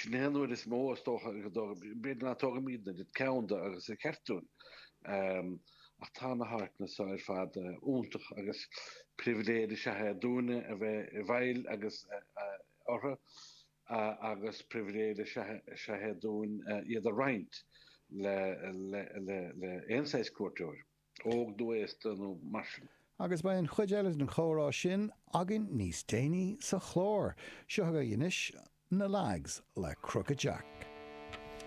Sin é an uair is mó, is dócha, go dtógaim, b'fhéidir ná tógaim iad an oiread ceann de agus is ceart dúinn. Ach tá na háiteanna seo ar fad iontach agus pribhléid is ea é dúinne a bheith i bhfeighil agus orthu agus pribhléid is ea é dúinn iad a roinnt le aon saghas cuairteoir. óg nó aosta nó mar sin. Agus beidh an chuid eile den chomhrá sin againn níos déanaí sa chlár. Seo chugaibh anois na Lags le Crooked Jack.